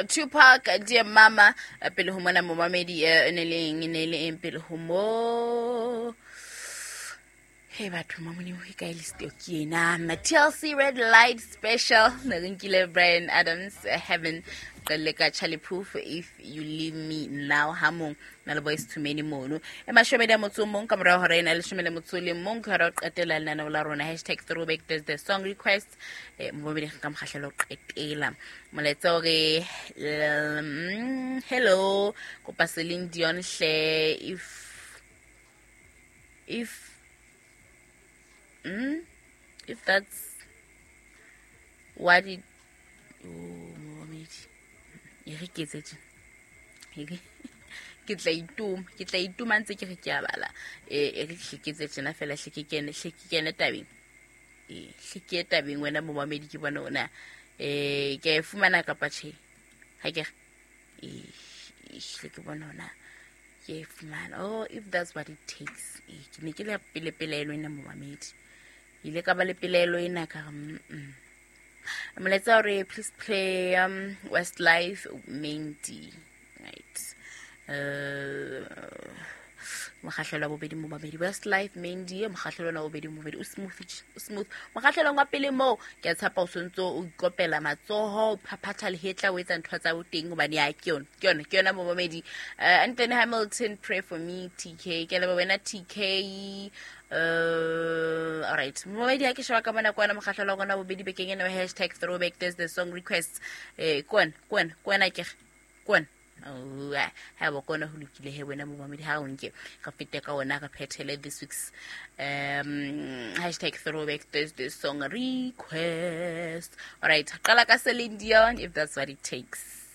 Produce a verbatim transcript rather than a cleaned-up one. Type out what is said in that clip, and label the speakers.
Speaker 1: Tupac, Dear Mama. Pele ho mona momamedi e ne le eng, e ne le eng pele ho mo. Hey batho mamone ho kae list eo ke ena. T L C Red Light Special. Ne re nkile Bryan Adams, Heaven. Qelle ka Charlie Puth, If You Leave Me Now, ha mong na le Boyz two Men mono. E mashome a motso o mong ka morao hora ena leshome le motso o le mong, ke hora ho qetela lenaneo la rona hashtag throwback Thursday song request. Eh, momamedi ka mokgahlelo ho qetela. Molaetsa o re, mm, hello, kopa Celine Dion hle, if, if, mm, if that's what it, oh, momamedi. E re ke etse tjena. E re, ke tla ituma, ke tla ituma ntse ke re ke a bala. E, e re hle ke etse tjena fela, hle ke kene, hle ke kene tabeng. E, hle ke ye tabeng wena momamedi ke bone ona. E, ke a e fumana kapa tjhe? Ha ke re, e, hle ke bone ona. Ke e fumana. Oh, if that's what it takes. E, ke ne ke le pele pelaelo ena momamedi. Ke ile ka ba le pelaelo ena ka re, mm, mm. Molaetsa o re, please play, um, Westlife Mandy. Right. Uh, mokgahlelo wa bobedi momamedi. Westlife Mandy, mokgahlelo wa bobedi momamedi. O smooth, o smooth. Mokgahlelong wa pele moo, ke a tshepa o sontso o ikopela matsoho, o phaphatha lehetla, o etsa ntho tsa boteng hobane ya ke yona, ke yona, ke yona momamedi. Uh, Anthony Hamilton, pray for me, T K. Ke leboha wena T K. Uh, all right. Momamedi ha ke sheba ka mona kwana mokgahlelo wa rona bobedi bekeng ena wa hashtag throwback Thursday song requests. Eh, kwana, kwana, kwana ke re, kwana. Oh, ha ba kona ho lokile he wena momamedi ha o nke re fete ka ona re phethele this week's, um, hashtag throwback Thursday song request. All right, qala ka Celine Dion, If That's What It Takes.